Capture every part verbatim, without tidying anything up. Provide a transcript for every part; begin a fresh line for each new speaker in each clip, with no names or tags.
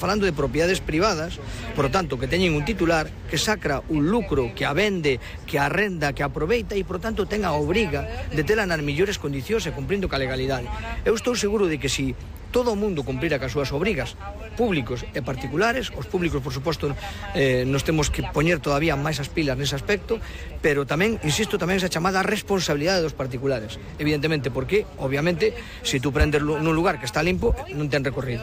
Falando de propiedades privadas, por lo tanto, que teñen un titular que sacra un lucro, que a vende, que a renda, que aproveita e, por tanto, ten a obriga de tela nas mellores condicións e cumprindo ca legalidade. Eu estou seguro de que si todo o mundo cumplira cas súas obrigas, públicos e particulares, os públicos, por suposto, eh, nos temos que poñer todavía máis as pilas nese aspecto, pero tamén, insisto, tamén esa chamada responsabilidade dos particulares. Evidentemente, porque, obviamente, se si tú prendes nun lugar que está limpo, non ten recorrido.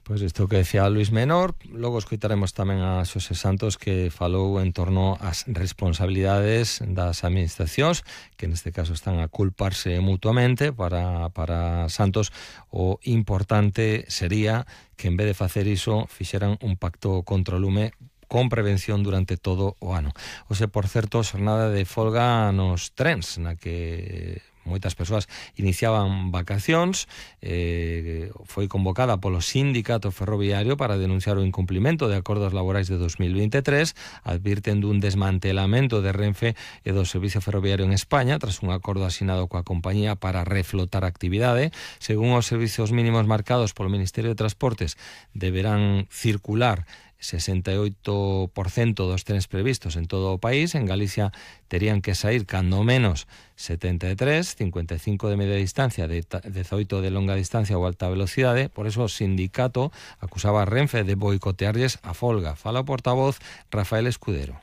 Pois isto que decía Luis Menor, logo escoitaremos tamén a Xosé Santos que falou en torno ás responsabilidades das administracións, que neste caso están a culparse mutuamente. Para, para Santos o importante sería que en vez de facer iso fixeran un pacto contra o lume con prevención durante todo o ano. Ose, por certo, xornada de folga nos trens, na que moitas persoas iniciaban vacacións, eh, foi convocada polo sindicato ferroviario para denunciar o incumplimento de acordos laborais de dos mil veintitrés, advirten dun desmantelamento de Renfe e do servicio ferroviario en España tras un acordo asinado coa compañía para reflotar a actividade. Según os servicios mínimos marcados polo Ministerio de Transportes, deberán circular sesenta e oito por cento dos trens previstos en todo o país. En Galicia terían que sair cando menos setenta e tres, cincuenta e cinco de media distancia, de dezaoito de longa distancia ou alta velocidade. Por eso o sindicato acusaba a Renfe de boicotearlles a folga. Fala o portavoz Rafael Escudero.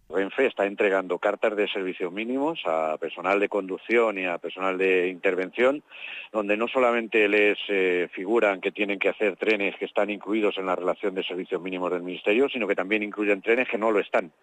Renfe está entregando cartas de servicio mínimos a personal de conducción y a personal de intervención, donde no solamente les eh, figuran que tienen que hacer trenes que están incluidos en la relación de servicios mínimos del Ministerio, sino que también incluyen trenes que no lo están,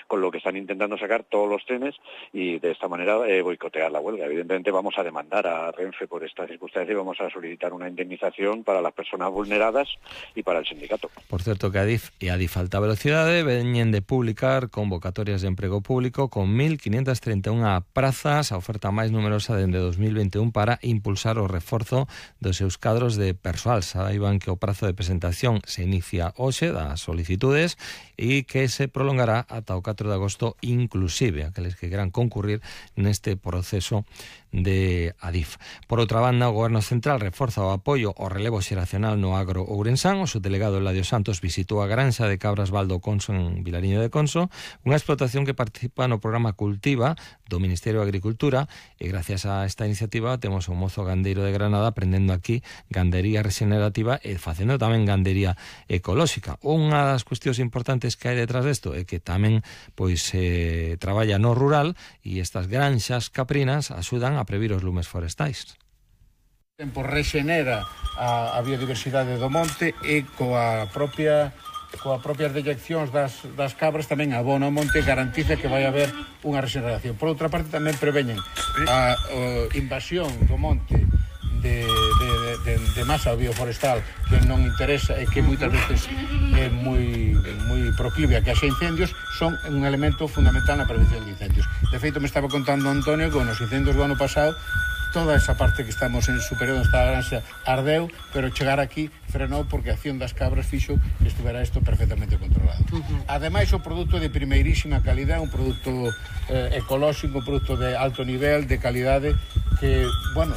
con lo que están intentando sacar todos los trenes y de esta manera eh, boicotear la huelga. Evidentemente vamos a demandar a Renfe por esta circunstancia y vamos a solicitar una indemnización para las personas vulneradas y para el sindicato.
Por cierto, que Adif e Adif Alta Velocidade veñen de publicar convocatorias de emprego público con mil quinientas treinta e unha prazas, a oferta máis numerosa dende dos mil veintiún para impulsar o reforzo dos seus cadros de persoal. Saiban que o prazo de presentación se inicia hoxe das solicitudes e que se prolongará ata o catro de agosto, inclusive aqueles que queran concurrir neste proceso de Adif. Por outra banda, o Goberno Central reforza o apoio ao relevo xeracional no agro ourensán. O subdelegado Eladio Santos visitou a granxa de cabras Valdo Conso en Vilariño de Conso, unha explotación que participa no programa Cultiva do Ministerio de Agricultura, e gracias a esta iniciativa temos o mozo gandeiro de Granada aprendendo aquí gandería regenerativa e facendo tamén gandería ecolóxica. Unha das cuestións importantes que hai detrás desto é que tamén pois eh, traballa no rural, e estas granxas caprinas axudan a previr os lumes forestais.
O tempo rexenera a, a biodiversidade do monte e coa propia coa propias deyeccións das, das cabras tamén abona o monte e garantiza que vai haber unha regeneración. Por outra parte, tamén preveñen a, a invasión do monte de, de, de, de masa bioforestal que non interesa e que moitas veces é moi, moi proclive a que haxa incendios. Son un elemento fundamental na prevención de incendios. De feito, me estaba contando Antonio que nos incendios do ano pasado toda esa parte que estamos en superior onde está a granxa ardeu, pero chegar aquí frenou porque a acción das cabras fixo que estuvera isto perfectamente controlado. Uh-huh. Ademais, o produto de primeirísima calidad, un produto eh, ecolóxico, un produto de alto nivel, de calidade, que, bueno,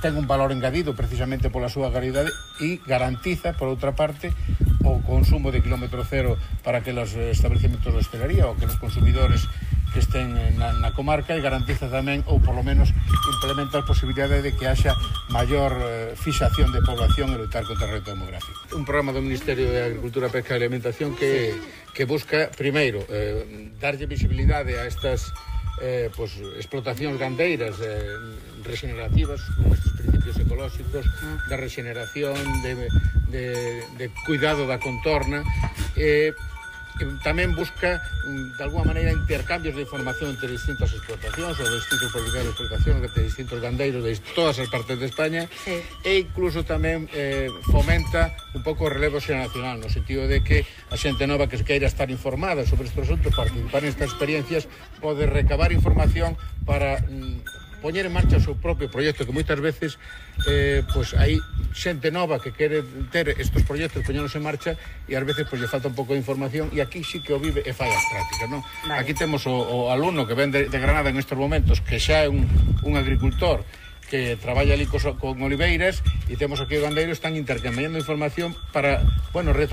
ten un valor engadido precisamente pola súa calidade e garantiza, por outra parte, o consumo de kilómetro cero para aqueles establecementos de hostelería ou aqueles consumidores que estén na, na comarca, e garantiza tamén, ou polo menos implementa a posibilidade de que haxa maior eh, fixación de población e lutar contra o reto demográfico. Un programa do Ministerio de Agricultura, Pesca e Alimentación que, que busca, primeiro, eh, darlle visibilidade a estas eh, pues, explotacións gandeiras eh, regenerativas, con estes principios ecolóxicos, de regeneración, de, de, de cuidado da contorna, e eh, tamén busca, de alguma maneira, intercambios de información entre distintas explotacións ou distintos propietarios de explotación, entre distintos gandeiros de todas as partes de España, sí. E incluso tamén eh, fomenta un pouco o relevo xeracional, no sentido de que a xente nova que se queira estar informada sobre estes asuntos, participar nestas experiencias, pode recabar información para mm, poñer en marcha o seu propio proxecto, que moitas veces eh, pues, hai xente nova que quere ter estes proxectos, poñelos en marcha, e ás veces pues, lle falta un pouco de información, e aquí sí que o vive e fai as prácticas, non? Vale. Aquí temos o, o alumno que ven de, de Granada en estes momentos, que xa é un, un agricultor que traballa ali cos, con oliveiras, e temos aquí o gandeiro, están intercambiando información para, bueno,